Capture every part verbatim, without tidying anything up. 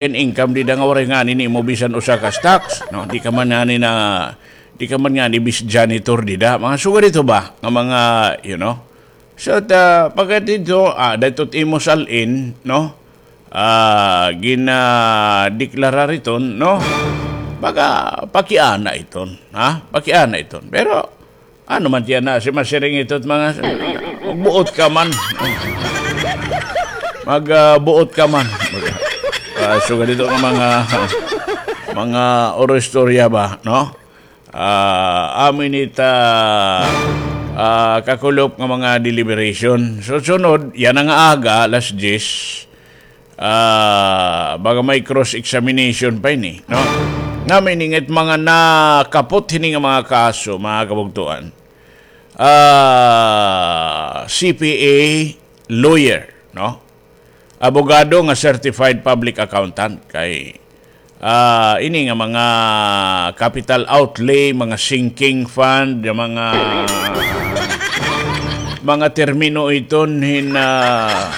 in income dida nga waray ngani nimo bisan usa ka stocks, no? Di ka man ngani na, di ka man ngani bis janitor dida. Mga sugad ito ba nga mga, you know? So, ta, pagkadto, ah, dayto't imo sal-in, no? Ah, ginadeklarar iton, no? Baga, pakiana iton, ha? Pakiana iton. Pero, ano man tiyan na, si masiring ito't mga, magbuot ka man. Mag, ah, buot ka man. Ah, sugad ito nga mga, mga oro istorya ba, no? Ah, amo ini ta, ah, kakulop nga mga deliberation. So, sunod, yana nga aga, alas diyes, ah, baga may cross-examination pa ini, no? Nga meaning it mga nakapot hini nga mga kaso, mga kabugtuan. Ah, C P A lawyer, no? Abogado nga certified public accountant kay, ah, ini nga mga capital outlay, mga sinking fund, nga mga, mga termino iton hin, ah,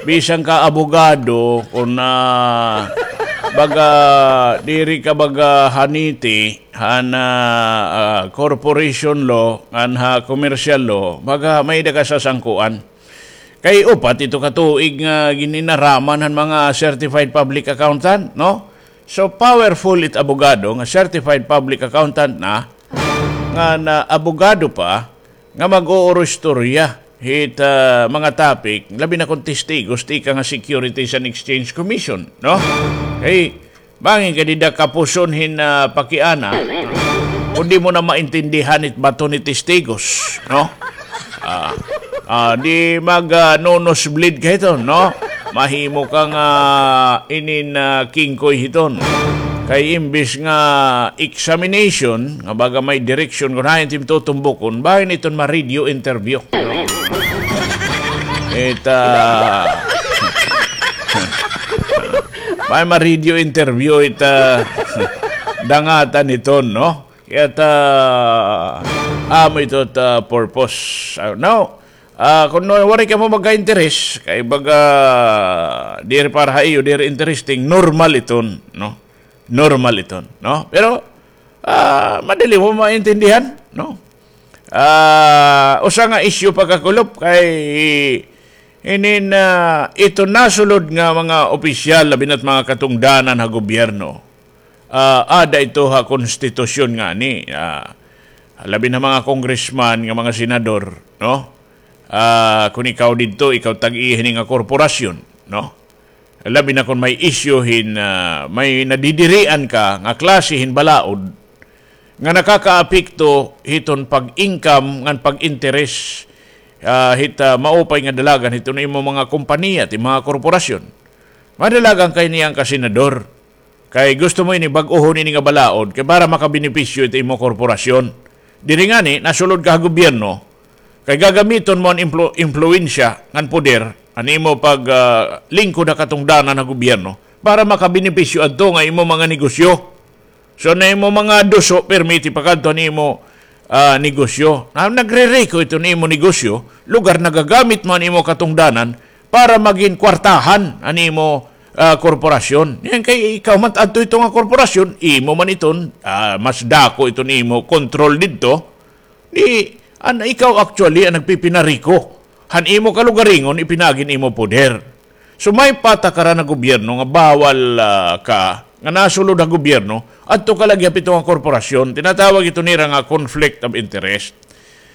bisan ka abogado, kun, ah, baga, diri ka baga haniti, han, ah, ah, corporation law, ngan ha commercial law, baga may-ada ka sasangkuan. Kay upat ito ka tuig nga gininaraman han mga certified public accountant, no? So, powerful it abogado nga certified public accountant na, nga na abogado pa, nga mag-uurustorya hit, ah, mga topic, labi na kon testigos, tikang ha Securities and Exchange Commission, no? Kay, bangin ka dida kapuson hin, ah, pakiana, kun di mo na maintindihan it bato ni testigos, no? Ah, ah, di mag, ah, no-nosebleed ka hito, no? Mahimo ka nga inin, ah, kingkoy hiton. Kay imbis nga examination, nga baga may direksyon kun hain tim tutumbukon, bahin iton ma-radio interview. It, ah, may ma-radio interview it, ah, dangatan iton, no? Kay ta, amo ito ta purpose. Ah, now, ah, kun waray kamo magka-interes, kay baga, diri para ha iyo, diri interesting, normal iton, no? Normal iton, no? Pero, ah, madali mo maintindihan, no? Ah, usa nga issue pa kakulop kay inin, ah, ito nasulod nga mga opisyal, labi na't mga katungdanan ha gobyerno. Ah, ada ito ha konstitusyon ngani, ah, labi na mga congressman nga mga senador, no? Ah, kun ikaw didto, ikaw tag-iya hini nga korporasyon, no? Labi na kun may issue hin, ah, may nadidirian ka nga klase hin balaod nga nakakaapekto hiton pag-income ngan pag-interes, ah, hit, ah, maupay nga dalagan hiton imo mga kompanya, it mga korporasyon. Madalagan kay niyan ka senador. Kay gusto mo ini bag-ohon ini nga balaod kay para makabenepisyo it imo korporasyon. Diri ngani, nasulod ka ha gobyerno, kay gagamiton mo an implu-, impluwensya ngan poder, an imo pag, ah, lingkod ha katungdanan ha gobyerno para makabenepisyo adto nga imo mga negosyo. So, na imo mga duso, permiti pa kadto an imo, ah, negosyo. Na, nagrereko ito an imo negosyo, lugar nagagamit mo an imo katungdanan para magin kwartahan an imo, ah, korporasyon. Yan kay ikaw man adto ito nga korporasyon, imo man iton, ah, mas dako iton imo kontrol didto. Di, an, ikaw actually an nagpipinariko han imo kalugaringon ipinaagi han imo poder. So, may patakaran an gobyerno nga bawal, ah, ka, nga nasulod ha gobyerno, adto ka lagi ha pito nga korporasyon, tinatawag ito nira nga conflict of interest.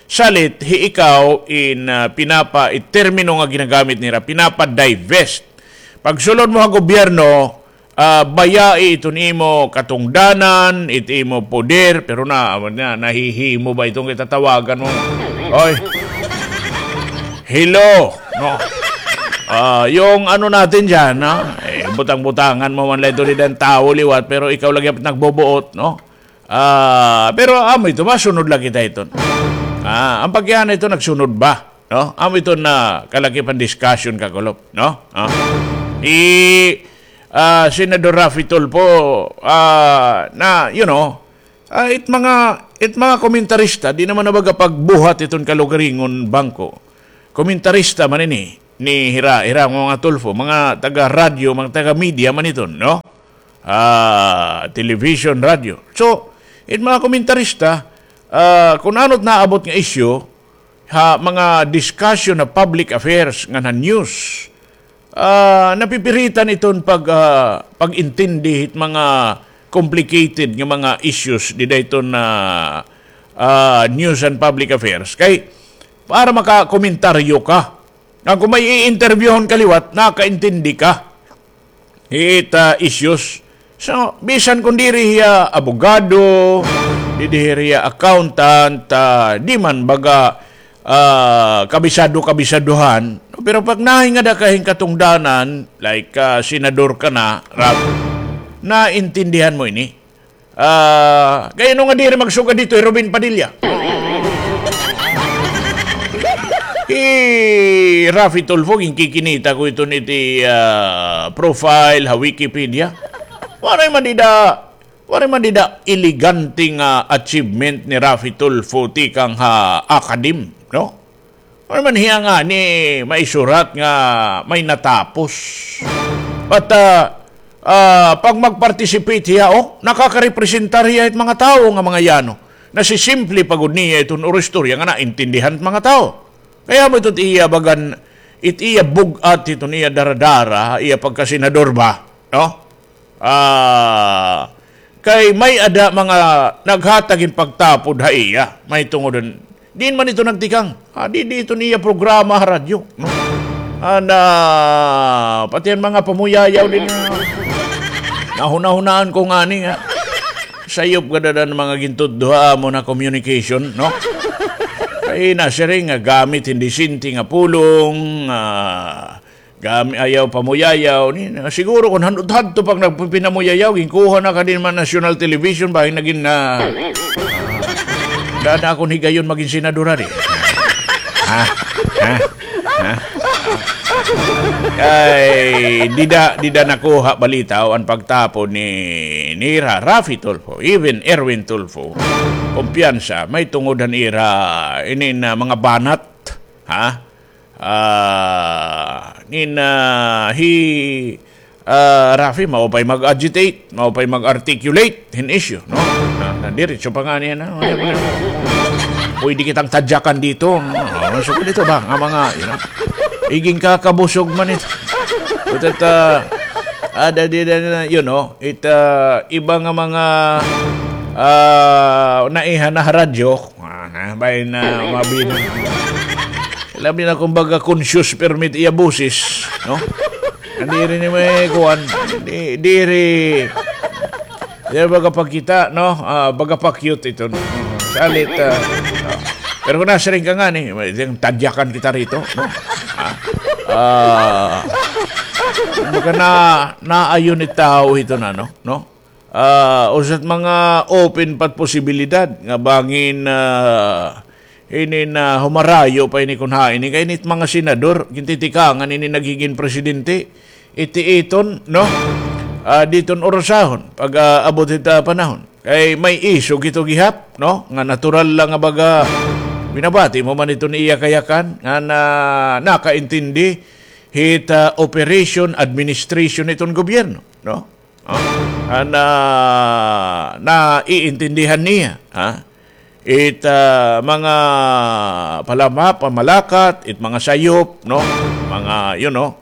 Salit, hi ikaw in, ah, pinapa, it termino nga ginagamit nira, pinapa-divest. Pagsulod mo ha gobyerno, ah, bayai iton imo katungdanan, it imo poder, pero na, na, nahihimo ba iton kay tatawagan mo? Oy. Hello, no? Ah, yung ano natin dyan, ha? Eh, butang-butangan mo man lang ito dida an tawo liwat, pero ikaw lagi an nagbubuot, no? Ah, pero amo ito, masunod lagi kita iton. Ah, an pakiana ito, nagsunod ba? No? Amo ito na kalakip han discussion, kakulop, no? Ah. I, ah, Senador Raffy Tulfo, ah, na, you know, ah, it mga, it mga komentarista, di naman na baga pagbuhat iton kalugaringon bangko. Komentarista man ini. ni hira, hira mga Tulfo, mga taga-radyo, mga taga-media man iton, no? Ah, television, radyo. So, it mga komentarista, ah, kun ano it naabot nga isyu, ha mga discussion ha public affairs ngan ha news, ah, napipiritan iton pag, ah, pag-intindi hit mga complicated nga mga issues dida iton, ah, ah, news and public affairs. Kay, para makakomentaryo ka, nga kung may i-interviewhon ka liwat, nakaintindi ka hit, ah, issues. So, bisan kon diri hiya abogado, diri hiya accountant, ah, di man baga, ah, kabisado-kabisaduhan. Pero pag nahingada ka hin katungdanan, like, ah, senador ka na, Rab, naintindihan mo ini. Ah, kay ano nga diri magsugad dito hi Robin Padilla? Hi Raffy Tulfo, ginkikinita ko iton iti, ah, profile ha Wikipedia. Waray man dida, waray man dida elegante nga achievement ni Raffy Tulfo tikang ha academe, no? Ano man hiya ngani maisurat nga may natapos? But, ah, ah, pag mag-participate hiya, oh, nakakarepresentar hiya it mga tawo nga mga yano. Nasisimple pa gud niya iton oro istorya nga naintindihan it mga tawo. Kay amo ito it iya bagan, it iya bug-at, iton iya daradara, iya pagkasenador ba, no? Ah, kay may-ada mga naghatag hin pagtapod ha iya. May tungod hin, diin man ito nagtikang? Ah, di, di ito niya programa ha radyo, no? Ana, pati an mga pamuyayaw din, ah, nahunahunaan ko ngani nga sayop gad an mga gintudlo ha amon nga communication, no? Kay nasiring nga gamit hin disente nga pulong, ah, gami, ayaw pamuyayaw. Ni, siguro kon hadto-hadto pa nagpipinamuyayaw, ginkuha na ka din man national television, bahin nagin na. Daan na akon higayon magin senador, ari. Ha? Ha? Ha? Ay, dida, dida nakuha balita o an pagtapod ni, ni Ra-, Raffy Tulfo, even Erwin Tulfo. Kumpiyansa, may tungod han ira, ini na mga banat, ha? Ah, nin, ah, hi, ah, Raffy, maupay mag-agitate, maupay mag-articulate hin issue, no? Na, na diretso pa nga niya na. Pwede kitang tadyakan dito. Oh, so dito ba? Nga mga, you know, iging kakabusog man ito. But, ah, ada di na, you know, it, ah, iba nga mga, ah, naiha na radyo, ah, na, bay na, mabin-, labi na kumbaga conscious permit iya boses, no? Diri ni may kuan, di, diri, diri baga pagkita, no? Ah, baga pa-cute ito, no? Salit, ah, no? Pero kung nasiring ka nga ni, may, tadyakan kita rito, no? Ah, ah, kumbaga na, naayon ni tao ito na, no? No? Ah, usa it mga open pa it posibilidad nga bangin, ah, ini na humarayo pa ini kun hain ini kay ini it mga senador, gintitikangan ini nagigin presidente, iti iton, no? Ah, diton orasahon, pag, ah, abot hit, ah, panahon. Kay may isog ito gihap, no? Nga natural la nga baga, binabati mo man iton iya kayakan, nga na, nakaintindi hit, ah, operation, administration iton gobyerno, no? Oh, an, ah, naiintindihan niya, ha? It, ah, mga palama-, pamalakat, it mga sayop, no? Mga, you know,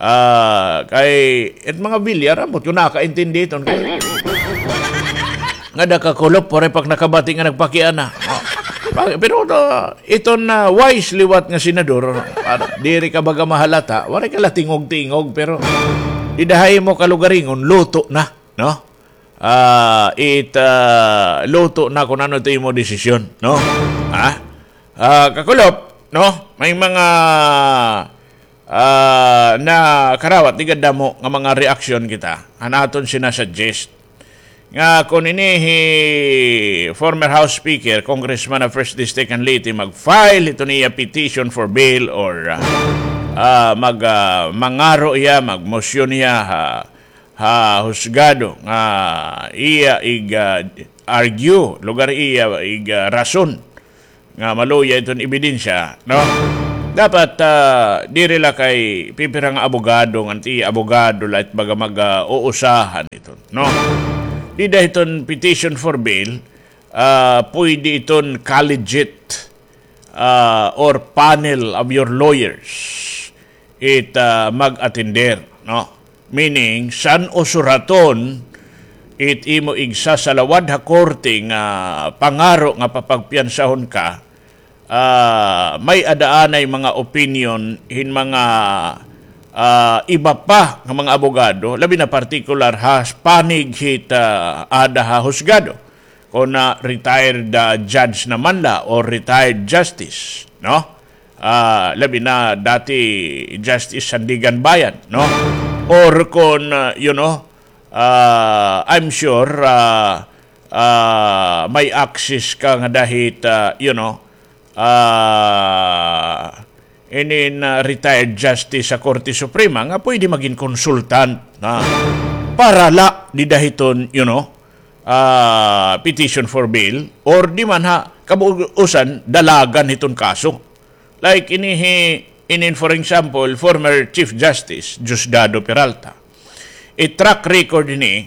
ah, kay, it mga bilyar, ambot ko nakaintindi iton kay. Nga da kakulop, waray pa ak nakabati nga nagpakiana. Oh. Pa-, pero, ah, iton, ah, wise liwat nga senador, ano, diri ka baga mahalata, waray ka la tingog-tingog, pero dida ha imo kalugaringon, luto na, no? Ah, it, ah, luto na kun ano it imo desisyon, no? Ha? Ah, kakulop, no? May mga, ah, nakarawat, di gad damo nga mga reaksyon kita. An aton sinasuggest. Nga kun ini hi former House Speaker, Congressman of First District and Leyte, mag-file ito niya petition for bail or, ah, ah, mag, ah, mangaro iya, magmosyon iya ha, ha husgado nga iya ig, ah, argue, lugar iya ig, ah, rason nga maluya iton ebidensya, no? Dapat, ah, diri la kay pipira nga abogado, ngan ti abogado la it baga mag, ah, uusahan iton, no? Dida hiton petition for bail, ah, pwede iton collegiate, ah, or panel of your lawyers it, ah, mag-atender, no? Meaning, san-o suraton it imo igsasalawad ha korte nga pangaro nga papagpiyansahon ka, ah, may-ada anay mga opinion hin mga, ah, iba pa nga mga abogado, labi na partikular ha panig hit, ah, aada ha husgado. Kon, ah, retired, ah, judge naman la or retired justice, no? Ah, labi na dati Justice Sandiganbayan, no? Or kon, ah, you know, ah, I'm sure, ah, ah, may access ka ngada hit, ah, you know, ah, inin, ah, retired justice sa Korte Suprema nga pwede magin consultant na para la dida hiton, you know, ah, petition for bail or di man ha kabuusan dalagan hiton kaso. Like ini hi-, inin, for example, former Chief Justice Diosdado Peralta. It track record ini,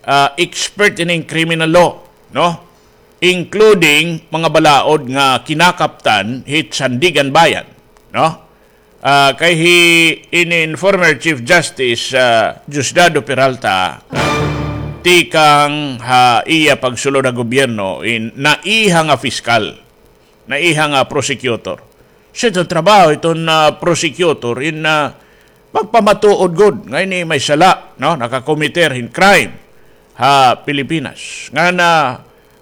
ah, expert ini in criminal law, no? Including mga balaod nga kinakaptan hit Sandiganbayan, no? Ah, kay hi inin former Chief Justice, ah, Diosdado Peralta, ah, tikang ha iya pagsulod ha gobyerno in naiha nga piskal, naiha nga prosecutor. So, iton trabaho iton, ah, prosecutor in, ah, magpamatuod gud nga ini may sala, no? Nakakomiter hin crime ha Pilipinas. Ngan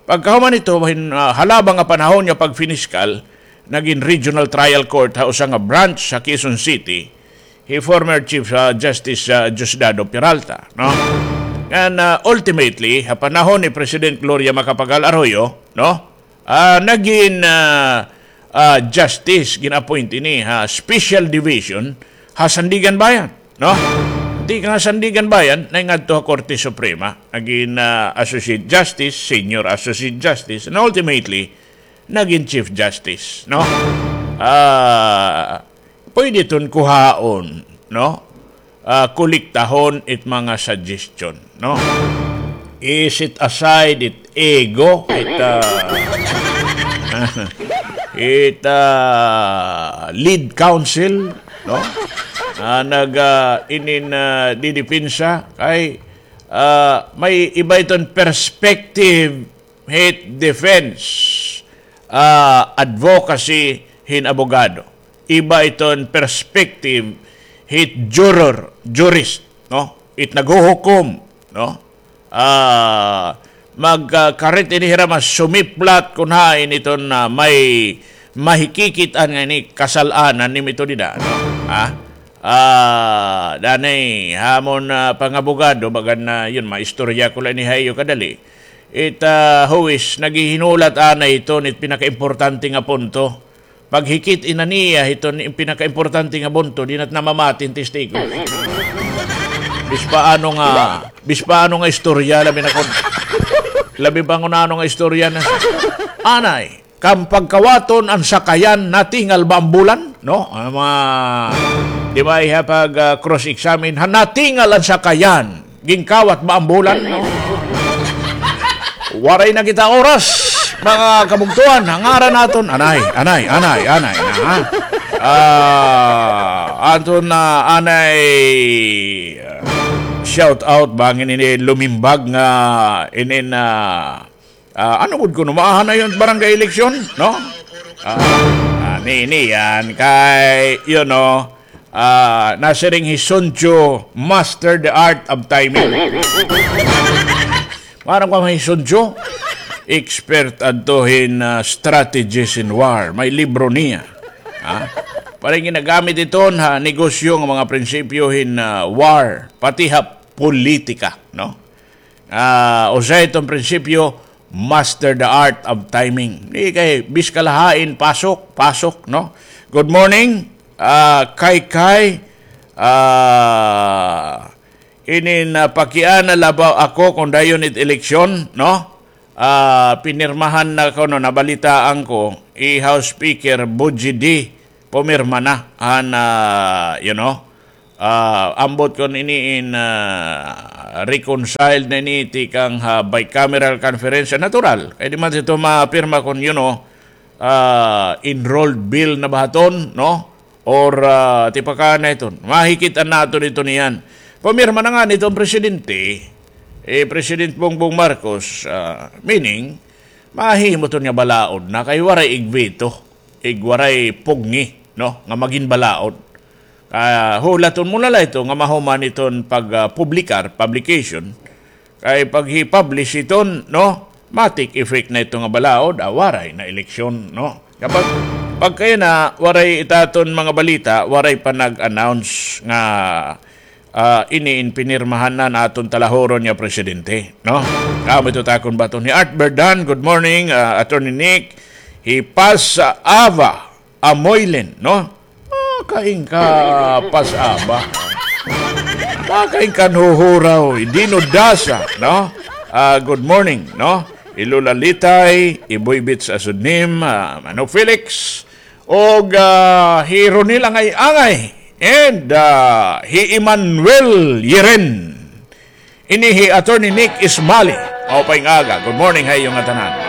pagkahuman hito, hin, ah, halaba nga panahon nga pagpiniskal, nagin regional trial court ha usa nga branch sa Quezon City hi former Chief, ah, Justice, ah, Diosdado Peralta, no? Ngan, ah, ultimately, ha panahon ni President Gloria Macapagal Arroyo, no? Ah, nagin, ah, ah, justice, gin-appoint ini ha Special Division ha Sandiganbayan, no? Tikang ha Sandiganbayan, naingadto ha Korte Suprema, nagin, ah, Associate Justice, Senior Associate Justice, and ultimately, nagin Chief Justice, no? Ah, pwede iton kuhaon, no? Ah, kolektahon it mga suggestion, no? I-set aside it ego, it, ah, it, ah, lead counsel, no? Ah, nag, ah, inin, ah, didepensa, kay, ah, may iba iton perspective hit defense, ah, advocacy hin abogado. Iba iton perspective hit juror, jurist, no? It naghuhukom, no? Ah, magkakarit ini hira mas sumiplat kun hain iton, ah, may mahikikit-an nga ini kasal-anan nimo ito dida, no? Ha? Ah, danay, ha amon, ah, pangabogado, bagan na, yun, maistorya ko la ini ha iyo kadali. It, ah, huwis, naghihinulat anay hiton it pinakaimportante nga punto. Paghikit-i na niya hiton it pinakaimportante nga punto, di na it namamati hin testigo. Bispa ano nga, bispa ano nga istorya, labi na kon, labi pa kon ano nga istorya na. Anay, kan pagkawaton an sakayan, natingal ba an bulan? No? An mga, di ba, iha pag, ah, cross-examine, ha, natingal an sakayan, ginkawat ba an bulan? No? Waray na kita oras, mga kabugtoan, ha ngaran naton, anay, anay, anay, anay, na, ha? Ah, aton na, anay, ah, shout out, bangin ini lumimbag nga, inin, ah, Ah, ano gud kuno, maaha na iton barangay election, no? Ah, ah, ni, ni yan kay, you know, ah, nasiring hi Sun Tzu, master the art of timing. Maaram ka hi Sun Tzu, expert adto hin, ah, strategies in war. May libro niya. Ha? Para ginagamit iton ha negosyo nga mga prinsipyo hin, ah, war, pati ha politika, no? Ah, usa iton prinsipyo, master the art of timing. Di kay biskal hain, pasok, pasok, no? Good morning, ah, Kay Kay. Ah, inin, ah, pakiana la ba ako kon dayon it eleksyon, no? Ah, pinirmahan na ko, no, nabalitaan ko, i House Speaker Bujidi pumirma na han, ah, you know, ah, ambot kon ini in, ah, reconciled na ini tikang ha bicameral conference, natural. Kay di man ito mapirma kon, you know, ah, enrolled bill na ba hiton, no? Or, ah, tipakana iton. Mahikit-an naton iton niyan. Pumirma na ngani iton presidente, eh, President Bongbong Marcos, ah, meaning, mahimo iton nga balaod na kay waray igveto, igwaray pugngi, no, nga magin balaod. Ah, hulaton mo na la ito nga mahuman iton pag, ah, publikar, publication. Kay pag hi-publish iton, no, ma-take effect na ito nga balaod, ah, waray na eleksyon, no. Kapag, pagkaya na, waray itaton mga balita, waray pa nag-announce nga, ah, ini in pinirmahan na naton talahuron nga presidente, no? Kamo ito takon baton. Hi Art Berdan, good morning, ah, Attorney Nick. Hi Pas, ah, Ava Amoylen, no? Ah, kain ka, Pas Ava. Ah, kain ka, Huhuraw. Dino Dasa, no? Ah, good morning, no? Hi Lola Litay, hi Boy Bits Asudnim, ah, Manong Felix, og, ah, hi Ronil Angay-Angay, and, ah, hi Emmanuel Yeren. Ini hi Attorney Nick Ismali. Maupay nga aga. Good morning ha iyo ngatanan.